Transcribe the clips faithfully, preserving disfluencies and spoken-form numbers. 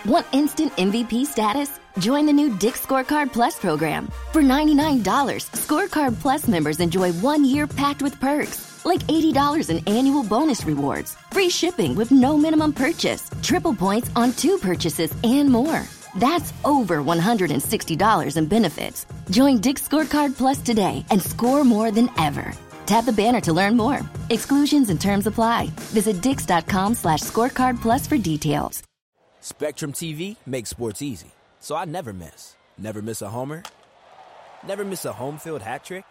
Want instant M V P status? Join the new Dick's Scorecard Plus program. For ninety-nine dollars, Scorecard Plus members enjoy one year packed with perks, like eighty dollars in annual bonus rewards, free shipping with no minimum purchase, triple points on two purchases, and more. That's over one hundred sixty dollars in benefits. Join Dick's Scorecard Plus today and score more than ever. Tap the banner to learn more. Exclusions and terms apply. Visit dicks dot com slash scorecard plus for details. Spectrum T V makes sports easy, so I never miss. Never miss a homer. Never miss a home field hat trick.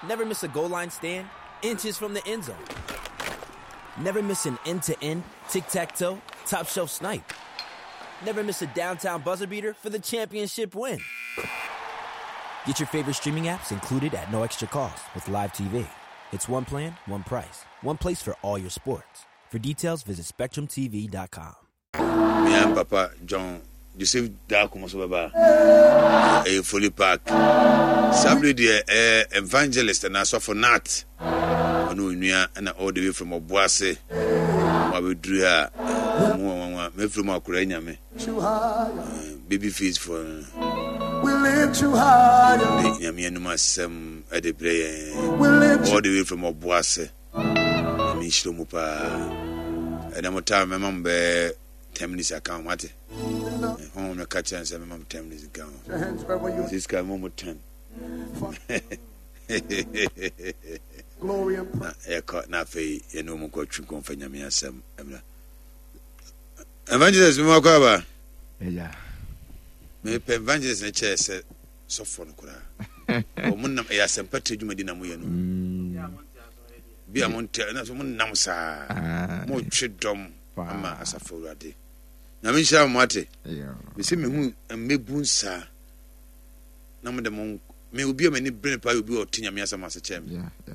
Never miss a goal line stand inches from the end zone. Never miss an end to end, tic tac toe, top shelf snipe. Never miss a downtown buzzer beater for the championship win. Get your favorite streaming apps included at no extra cost with Live T V. It's one plan, one price, one place for all your sports. For details, visit Spectrum T V dot com. Me papa John Joseph Daako so bɛba ɛyɛ Foley Park saa bere deɛ, ɛyɛ evangelist na asɔfo Nat ɔne onua ɛna all the way from Ɔboase mo abɛduru a mo wanwanwa mɛfiri mu akora nyame baby face for We lift you higher. De Nyame anim asɛm ɛde brɛ yɛn We lift all the way from Ɔboase. Nyame nhyira mu paa. Ɛnɛ mo taa mɛma mo bɛɛ ten minutes aka ho mate. Honhom no ka kyerɛ no sɛ mɛma mo ten minutes nka ho. Your hands wherever you Sika mo mo ten. Glory and na yɛkɔ na afei yɛne ɔmu nkɔtwe nkɔmfa Nyame asɛm mmra. Evangelist, mema kɔ aba. Ɛgya. Mepɛ evangelist no kyɛɛ sɛ sɔfoɔ no koraa. Ɔmo nam ɛyɛ asɛmpa tiri dwumadi na moyɛ no bi a monte na so monam saa Ah, motwe dɔm Paa. ama asafo Awurade. Nyame nhyira mo ate. Yeah. Mesɛ mehu mmɛbu nsaa na mode mo me obi a m'ani bere paa yɛ obi a ɔte Nyame asɛm ase kyerɛ me. Yeah, yeah.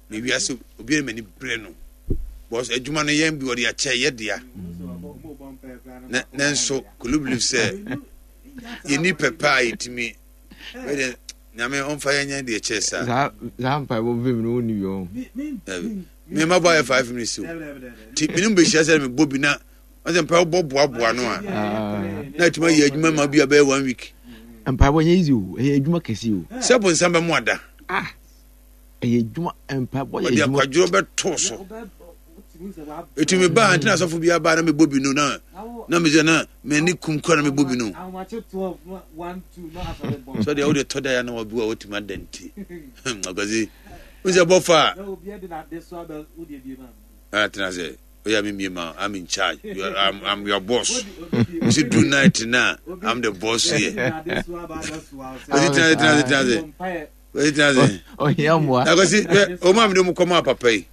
Me wiase obi a m'ani bere no bɔs adwuma no yɛn bi wɔde akyɛ yɛ dea na nanso kolo believe sɛ yɛni pɛpɛ a yɛtumi wɛdeɛ Nyame ɔmfa yɛnyɛ deɛ kyɛɛ saa. Saa saa mpaebɔ vim no wonni bi ɔ. Dabi. Me ma bɔ ayɛ five minutes o nti mene mbɛhyia sɛ mebɔ bi na ɔsɛ mpa wobɔ boaboa no a na atumi ayɛ adwuma ma bi a bɛyɛ one week. Mpaebɔ nyɛ easy o, ɛyɛ adwuma kɛse o. Sɛ bonsam bɛmo ada. Ah, ɛyɛ adwuma, mpaebɔ yɛ ɔde adwuma. Akwadworɔ bɛtoo so ɛtumi baa ntina asɔfo bi abaa na mebɔ bi no na na mesɛ na m'ani kum kora na mebɔ bi no sɛ deɛ wode tɔ da ya na wabi a watumi ada nti akwasi wo sɛ bɔfa a atena sɛ oyɛ me mie ma I'm in charge. You are, I'm, I'm your boss. You see, do night now, I'm the boss here. Kwasi tena ase, tena ase, tena ase. Kwasi tena ase. Ɔhia mmoa. Na kwasi hwɛ ɔmo a mede ɔmo kɔma papa yi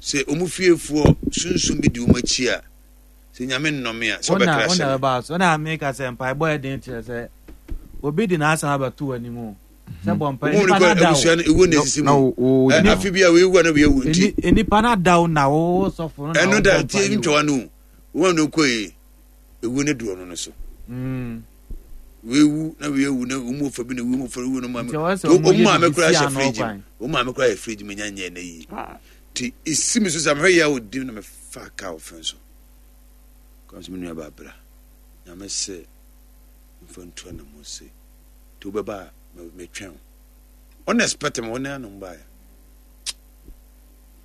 sɛ ɔmo fiefoɔ sunsun bi di ɔmo akyi a sɛ Nyame nnɔme a sɛ ɔbɛkra wona hyɛ me. Bɛba so na meka sɛ mpaebɔ yɛ den kyerɛ sɛ obi de n'asɛm abɛto w'anim o sɛ bɔ mpa ɔmo nipa ne kɔ no ada abusua wo no ewu na esisi na mu. wo Ɛ, afi bi a weewu a na weewu nti Eni- nipa no ada wo na wo sɔfo no na ɛno wobɔ da mpaeɛ tie o. ntwawa no o wɔn a no kɔ yi ewu ne duro no no so Mm. weewu na weewu na ɔmo fa bi na ewu mo fa ewu no maame Nti ɛwɔ sɛ ɔmo ɔmo yɛ maame biribi kura si hyɛ ano fridge kwan. mu, ɔmo maame kura yɛ fridge mu nya nyɛ ne yie ti esi mi so sɛ mehwɛ yɛ a odi na mefa kaa wɔ fɛn so kwan so. Me nua ba abira Nyame sɛ nfa ntua na mo se nti wobɛba a me- metwɛn wo ɔna expect me wɔne anom baeɛ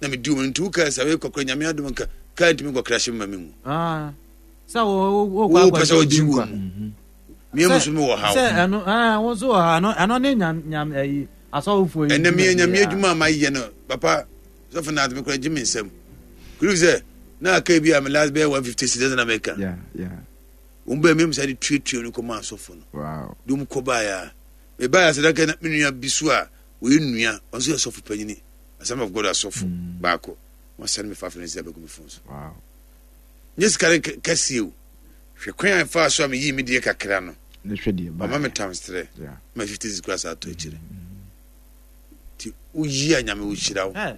na medi wɔn nti wokaa sɛ wei kɔkora Nyame adom nka kaa ntumi nkɔkra hyɛ me ma me mu. Ah. Sɛ wo wo wo pɛ sɛ wogye wɔ mu mmiɛ mu so mewɔ haw. Sɛ ɛno ah, wo nso wɔ ha ɛno ɛno ne nyam nyam ɛyi asɔfofoɔ yi ɛnɛ meyɛ dwumadie Nyame a. adwuma a mayɛ no papa sɔfo na ateme kora gye me nsɛm kuru sɛ na aka bi a me last bɛyɛ one fifty cedis na meka Yeah, yeah. wɔn bɛɛ mem sɛ de tuatua no kɔma asɔfo no Wow. de wɔn kɔ baeɛ a mebaeɛ sɛ daka na me nua bi so a wɔyɛ nua ɔno nso yɛ sɔfo panyini Assembly of God asɔfo baako wɔsɛne me five hundred sɛ bɛgu me phone so. Wow. Nyɛ sika no kɛ- kɛseɛ o, hwɛ kwan a ɛfaa so a meyii me deɛ kakra no. Ne hwɛ deɛ ba. Ɔma me times three Yeah. ma fifty six kora saa atɔ akyire nti woyi a Nyame wohyira wo. Ɛ,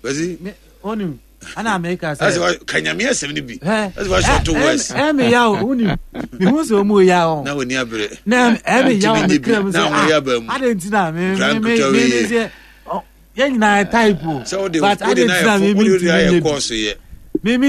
bɛsi me onim ana meka asɛ sɛ wa- ka Nyame asɛm no bi ɛ asɛ wahyɛ ɔto west. Ɛmi ya o, wonim mehu sɛ ɔmu ya o Na w'ani abere. Na ɛmi ya o Ntumi me nye bi. kra mu Na sɛ ahoyɛ aba mu. ah, ade nti na me Nkra me me nketewa me wei me yɛ. sɛ ɔ, yɛn nyinaa type o Sɛ wode but wode ade na nti na ayɛ me fo me wode wode ntumi ayɛ nye bi kɔɔso yɛ me me